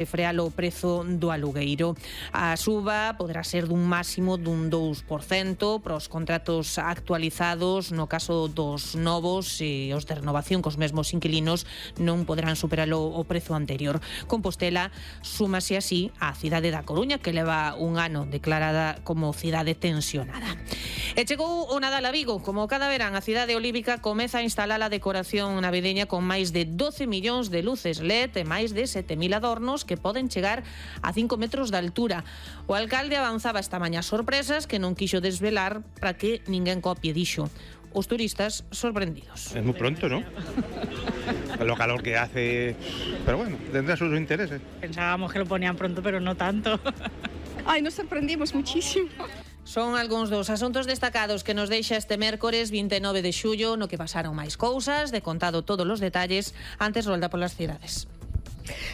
frear o prezo do alugueiro. A suba poderá ser dun máximo dun 2% para os contratos actualizados. No caso dos novos e os de renovación cos mesmos inquilinos non poderán superar o prezo anterior. Compostela súmase así á cidade da Coruña, que leva un ano declarada como cidade tensionada. E chegou o Nadal a Vigo. Como cada verán, a cidade olívica comeza a instalar a decoración navideña con máis de 12 millóns de luces LED e máis de 7.000 adornos que poden chegar a 5 metros de altura. O alcalde avanzaba esta mañá sorpresas que non quixo desvelar para que ninguén copie, dixo. Os turistas sorprendidos. Es muy pronto, ¿no? Lo calor que hace, pero bueno, tendrá sus intereses. Pensábamos que lo ponían pronto, pero no tanto. Ay, nos sorprendimos muchísimo. Son algúns dos asuntos destacados que nos deixa este mércores 29 de xullo, no que pasaron máis cousas, de contado todos os detalles, antes rolda polas cidades.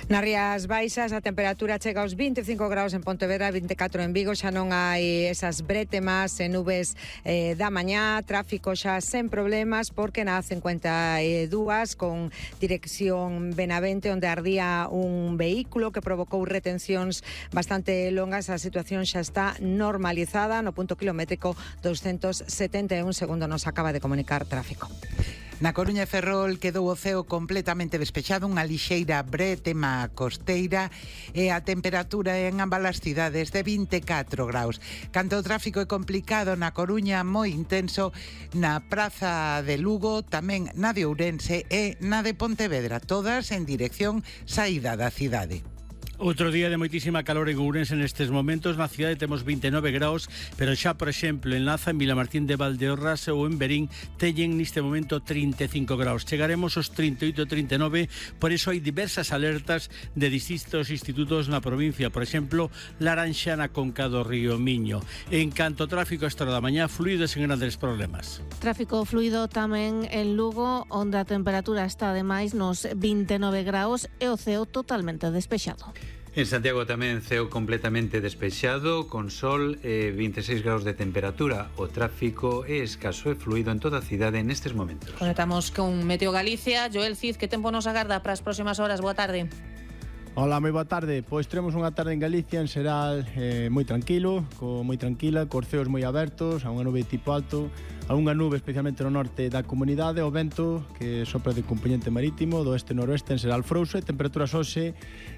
Nas Rías Baixas a temperatura chega aos 25 graus en Pontevedra, 24 en Vigo. Xa non hai esas brétemas e nubes da mañá. Tráfico xa sen problemas porque na 52 con dirección Benavente, onde ardía un vehículo que provocou retencións bastante longas. A situación xa está normalizada no punto kilométrico 271, segundo nos acaba de comunicar Tráfico. Na Coruña e Ferrol quedou o ceo completamente despexado, unha lixeira brétema costeira e a temperatura en ambas as cidades de 24 graus. Canto o tráfico é complicado na Coruña, moi intenso na Praza de Lugo, tamén na de Ourense e na de Pontevedra, todas en dirección saída da cidade. Outro día de moitísima calor en Ourense nestes momentos. Na cidade temos 29 graus, pero xa, por exemplo, en Laza, en Vilamartín de Valdeorras ou en Berín teñen neste momento 35 graus. Chegaremos aos 38 e 39, por iso hai diversas alertas de distintos institutos na provincia. Por exemplo, laranxa na conca do río Miño. En canto ao tráfico a esta hora da mañá, fluido sen grandes problemas. Tráfico fluido tamén en Lugo, onde a temperatura está ademais nos 29 graus e o ceo totalmente despexado. En Santiago tamén ceo completamente despexado, con sol e 26 graus de temperatura. O tráfico é escaso e fluido en toda a cidade nestes momentos. Conectamos con Meteo Galicia. Joel Cid, que tempo nos agarda para as próximas horas? Boa tarde. Hola, moi boa tarde. Pois teremos unha tarde en Galicia en xeral moi tranquila, cos ceos moi abertos, a unha nube tipo alto, a unha nube especialmente no norte da comunidade, o vento que sopra de componente marítimo do este-noroeste en xeral frouxo, temperaturas hoxe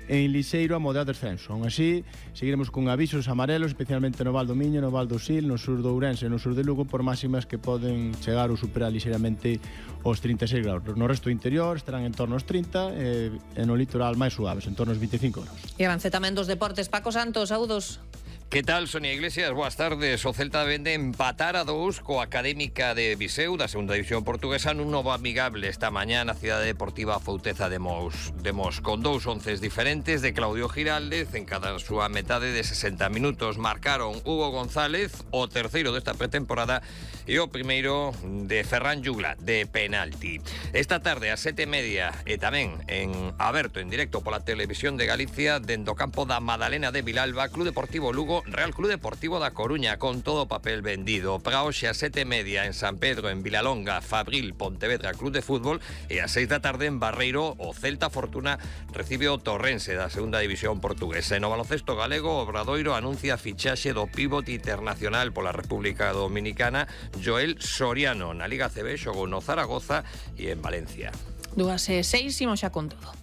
en lixeiro a moderado descenso. Aún así, seguiremos con avisos amarelos, especialmente no Val do Miño, no Val do Sil, no sur do Ourense e no sur de Lugo, por máximas que poden chegar ou superar lixeiramente os 36 graus. No resto do interior estarán en torno aos 30 e no litoral máis suaves, en torno aos 25 graus. E avance tamén dos deportes. Paco Santos, saúdos. Que tal, Sonia Iglesias? Boas tardes. O Celta vende empatar a 2 coa Académica de Viseu da segunda división portuguesa nun novo amigable esta mañá na cidade deportiva Fouteza de Mos, con 2 onces diferentes de Claudio Giraldez en cada súa metade de 60 minutos. Marcaron Hugo González, o terceiro desta pretemporada, e o primeiro de Ferran Jugla, de penalti. Esta tarde a 7:30 e tamén en aberto en directo pola Televisión de Galicia, dentro do campo da Madalena de Vilalba, Club Deportivo Lugo, Real Club Deportivo da Coruña, con todo o papel vendido. Para hoxe a 7:30 en San Pedro, en Vilalonga, Fabril, Pontevedra Club de Fútbol, e a 6 da tarde en Barreiro, o Celta Fortuna recibe o Torrense da segunda división portuguesa. E no baloncesto galego, o Obradoiro anuncia a fichaxe do pivote internacional pola República Dominicana, Joel Soriano. Na Liga CB xogou no Zaragoza e en Valencia. 2:06, imos xa con todo.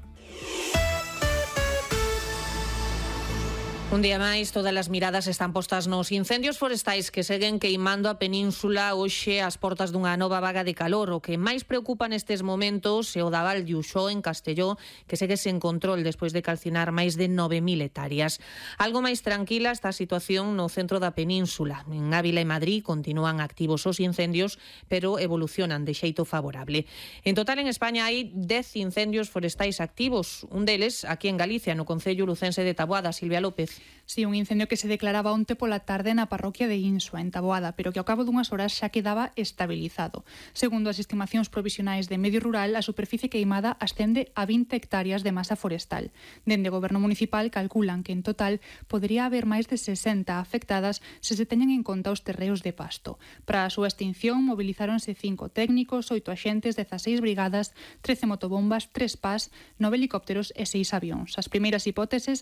Un día máis, todas as miradas están postas nos incendios forestais que seguen queimando a península hoxe ás portas dunha nova vaga de calor. O que máis preocupa nestes momentos é o da Val de Uxó, en Castelló, que segue sen control despois de calcinar máis de 9.000 hectáreas. Algo máis tranquila está a situación no centro da península. En Ávila e Madrid continúan activos os incendios, pero evolucionan de xeito favorable. En total, en España hai 10 incendios forestais activos. Un deles, aquí en Galicia, no concello lucense de Taboada. Silvia López. Sí, un incendio que se declaraba onte pola tarde na parroquia de Insua, en Taboada, pero que ao cabo dunhas horas xa quedaba estabilizado. Segundo as estimacións provisionais de Medio Rural, a superficie queimada ascende a 20 hectáreas de masa forestal. Dende o Goberno Municipal calculan que en total podería haber máis de 60 afectadas se se teñen en conta os terreos de pasto. Para a súa extinción mobilizáronse 5 técnicos, 8 axentes, 16 brigadas, 13 motobombas, 3 PAS, 9 helicópteros e 6 avións. As primeiras hipóteses